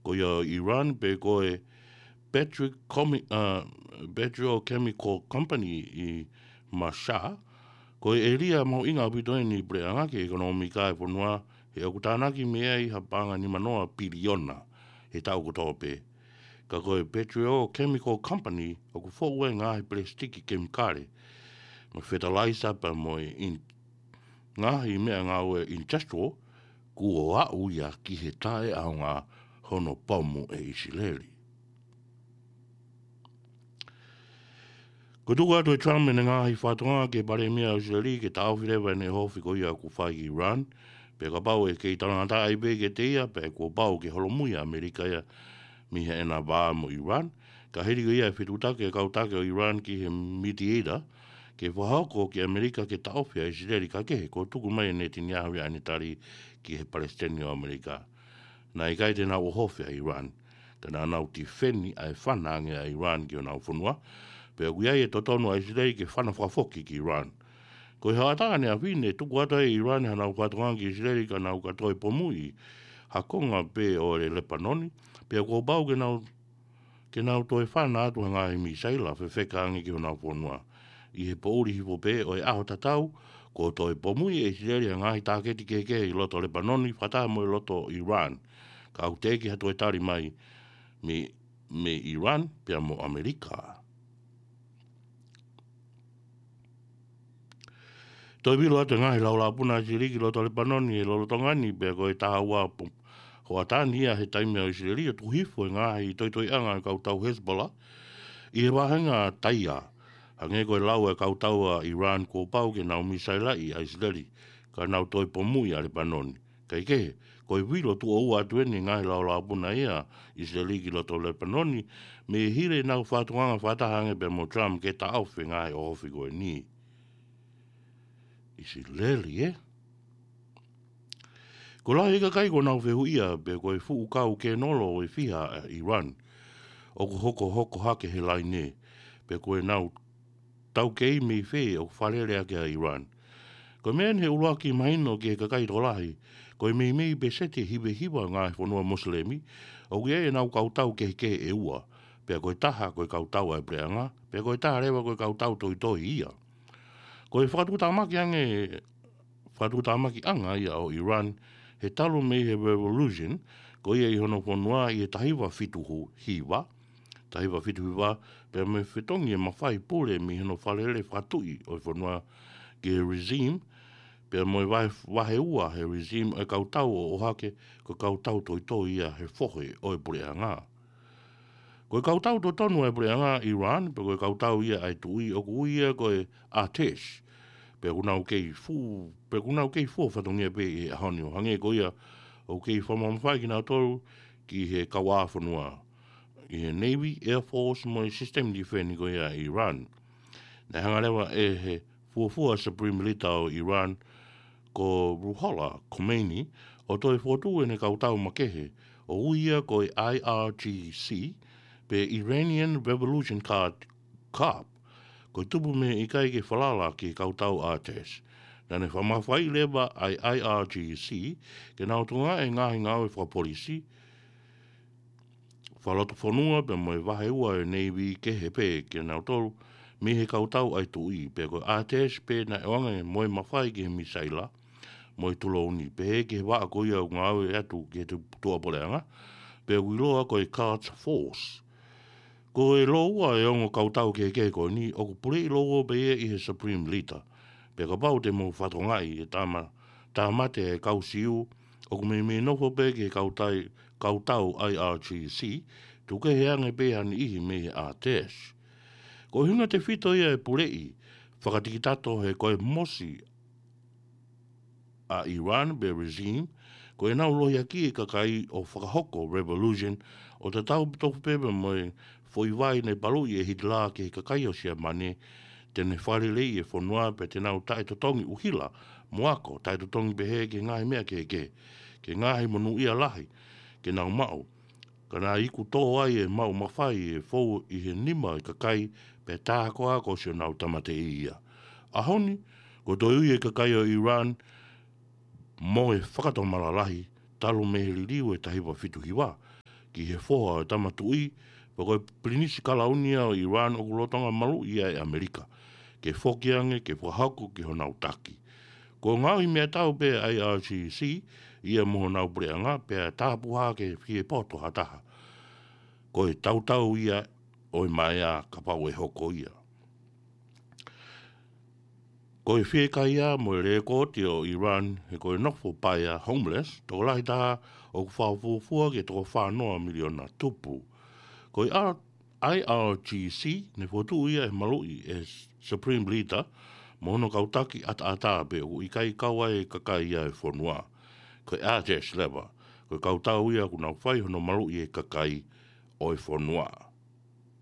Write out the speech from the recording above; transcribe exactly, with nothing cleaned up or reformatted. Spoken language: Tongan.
ko ia ʻo Iran, pe ko e Petrochemi-, uh, Petrochemical Company ʻi Mashhad, ko e ʻēlia mahuʻinga ʻaupito eni ʻi puleʻanga ki he ʻekonōmika ʻa e fonua, he ʻoku tānaki mei ai ha paʻanga nimanoa piliona he taʻu kotoa pē. Ka ko e Petrochemical Company ʻoku foʻu ai e ngaahi pelesitiki kemikale, mo e fertilizer pea mo e in-, ngaahi meʻangāue industrial, kuo aʻu ia ki he taʻeʻaonga hono pomu ʻe ʻIsileli. Ko e tuku atu ʻe Trump ʻene ngaahi fakatokangaʻi ki he palēmia ʻo ʻIsileli ke taʻofi leva ʻene ʻohofi ko ia ʻoku fai ki Iran, pea kapau ʻe kei talangataʻa pē kiate ia, pea kuo pau ke holomui ʻa ʻAmelika ia mei heʻena vā mo Iran, ka hili ko ia e fetuʻutaki ʻa e kau taki ʻo Iran ki he mediator, ke fakahoko ki ʻAmelika ke taʻofi ʻa ʻIsileli, ka kehe, kuo tuku mai ʻe Netanyahu ia ʻene tali ki he palesiteni ʻo ʻAmelika. Naʻe ʻikai te nau ʻohofi ʻa Iran, ka naʻa nau tifeni ʻa e fana ange ʻa Iran ki honau fonua, pea ʻoku ʻi ai e totonu ʻa ʻIsileli ke fana fakafoki ki Iran. Ko e hoʻatā ʻaneafi ne tuku atu ai ʻe Iran hanau fakatokangaʻi ki ʻIsileli ka nau ka toe pomuʻi ha konga pē ʻo e Lepanoni, pea kuo pau ke nau, ke nau toe fana atu ha ngaahi misaila fefeka ange ki honau fonua. ʻI he poʻuli hifo pē ʻo e ʻaho tatau, kuo toe pomuʻi ʻe ʻIsileli ha ngaahi tāketi kehekehe ʻi loto Lepanoni, fakataha mo e loto Iran. Ka ʻoku teʻeki ha toe tali mai mei, mei Iran pea mo ʻAmelika. Toe vilo atu e ngaahi laulāpuna ʻa ʻIsileli ki loto Lepanoni he lolotonga ni, pea ko e taha ua po-, hoʻatā ni ia he taimi ʻa ʻIsileli ʻo tuku hifo e ngaahi toitoiʻanga ʻa e kau tau Hezbollah ʻi he vāhenga Taia. Hangē ko e lau ʻa e kau tau ʻa Iran kuo pau ke nau misailaʻi ʻa ʻIsileli, ka nau toe pomuʻi ʻa Lepanoni. Kae kehe, ko e vilo tuʻo ua atu eni e ngaahi laulāpuna ia ʻa ʻIsileli ki loto Lepanoni, mei he hili ʻenau fakatokangaʻi fakataha ange pea mo Trump ke taʻofi e ngaahi ʻohofi ko eni. ʻIsileli, ē? Ko e lahi e kakai kuo nau fehuʻia pe ko e fuʻu kau kenolo ʻe fiha ʻa Iran ʻoku hokohoko hake he laine, pe ko ʻenau taukei mei fē ʻoku fālele ʻaki ʻa Iran. Ko e meʻa eni he ʻuluaki mahino ki he kakai tokolahi, ko e meimei peseti ʻe hivahiva ʻo e ngaahi fonua Mosilemi ʻoku ʻi ai ʻenau kau tau kehekehe ʻe ua, pea ko e taha ko e kau tau ʻa e puleʻanga, pea ko e taha leva ko e kau tau toitoi ia. Ko e fakatuʻutāmaki ange, fakatuʻutāmakiʻanga ia ʻo Iran he talu mei he revolution ko ia ʻi hono fonua ʻi he taha hiva fitu hiva, taha hiva fitu hiva, pea mo e fetongi e mafai pule mei hono fālele fakatuʻi ʻo e fonua ki he regime, pea mo e vahe, vahe ua he regime ʻo e kau tau ʻo ʻohake ko e kau tau toitoi ia he fohe ʻo e puleʻanga. Ko e kau tau totonu ʻa e puleʻanga Iran, pe ko e kau tau ia ʻa e tuʻi ʻoku ui ia ko e Artesh, pea ʻoku nau kei fu-, pea ʻoku nau kei fua fatongia pē ʻi he ʻaho ni ʻo hangē ko ia ʻoku kei fakamamafaʻi kinautolu ki he kauʻāfonua ʻi he Navy, Air Force mo e system defense ko ia ʻa Iran. Naʻe hanga leva ʻe he fuofua Supreme Leader ʻo Iran, ko Ruhollah Khomeini, ʻo toe fokotuʻu ʻene kau tau makehe, ʻo ui ia ko e I R G C, pe Iranian Revolution Guard Corps, ko e tupu mei he ʻikai ke falala ki he kau tau Artesh. Naʻa ne fakamafaiʻi leva ʻa e I R G C ke nau tokangaʻi e ngaahi ngāue fakapolisi, fakalotofonua pea mo e vahe ua ʻo e Navy kehe pē kinautolu mei he kau tau ʻa e tuʻi, pea ko e Artesh pē naʻe ʻoange mo e mafai ki he misaila mo e tulouni, pehē ki he vaʻa ko ia ʻoku ngāue atu ki he tu-, tuʻapuleʻanga, pea ʻoku ʻiloa ko e Quds Force. Ko e lōua ʻo e ongo kau tau kehekehe ko eni, ʻoku puleʻi lōua pē ia ʻi he Supreme Leader. Pea kapau te mou fakatokangaʻi e tāma-, tāmate e kau Siu, ʻoku meimei nofo pē ki he kau tai-, kau tau I R G C, tuku kehe ange pē ha niʻihi mei he Artesh. Ko e ʻuhinga tefito ia e puleʻi fakatikitato he ko e mosi ʻa Iran pe regime, ko ʻenau lohiakiʻi e kakai ʻo fakahoko revolution, ʻo tatau tofu pē mo e foʻi vai naʻe paluʻi ʻe Hitler ki he kakai ʻo Siamane, te ne fakaleleiʻi e fonua pea te nau taʻetotongi ʻuhila mo ako, taʻetotongi pehē ki he ngaahi meʻa kehekehe, ki he ngaahi monūʻia lahi ke nau maʻu. Ka naʻe iku tō ai e maʻu mafai ʻe fou ʻi he nima ʻo e kakai, pea tā ko ā kuo ʻosi ʻenau tāmateʻi ia. ʻAho ni, kuo toe ui e kakai ʻo Iran mo e fakatomala lahi, talu mei he liliu ʻo e taha hiva fitu hiva, ki he foha ʻo e tama tuʻi, pea ko e Pilinisi Kalauni ia ʻo ʻIlani ʻoku lolotonga maluʻi ia ʻe ʻAmelika, ke foki ange ke fakahoko ki honau taki. Kuo ngaohi meʻatau pē ʻa e I R G C ia mo honau puleʻanga, pea tāpuhā ke fie poto ha taha. Ko e tautau ia ʻo e maea kapau ʻe hoko ia. Ko e fiekaia mo e lēkooti ʻo ʻIlani, he ko e nofo paea, homeless, tokolahi taha ʻoku fakafuofua ki he toko fā noa miliona tupu. Ko e R-, I R G C, ne fokotuʻu ia ʻe he maluʻi ʻe he Supreme Leader, mo hono kau taki ʻataʻatā pē ʻoku ʻikai kau ai e kakai ia ʻo e fonua. Ko e Ardèche leva, ko e kau tau ia ʻoku nau fai hono maluʻi e kakai ʻo e fonua.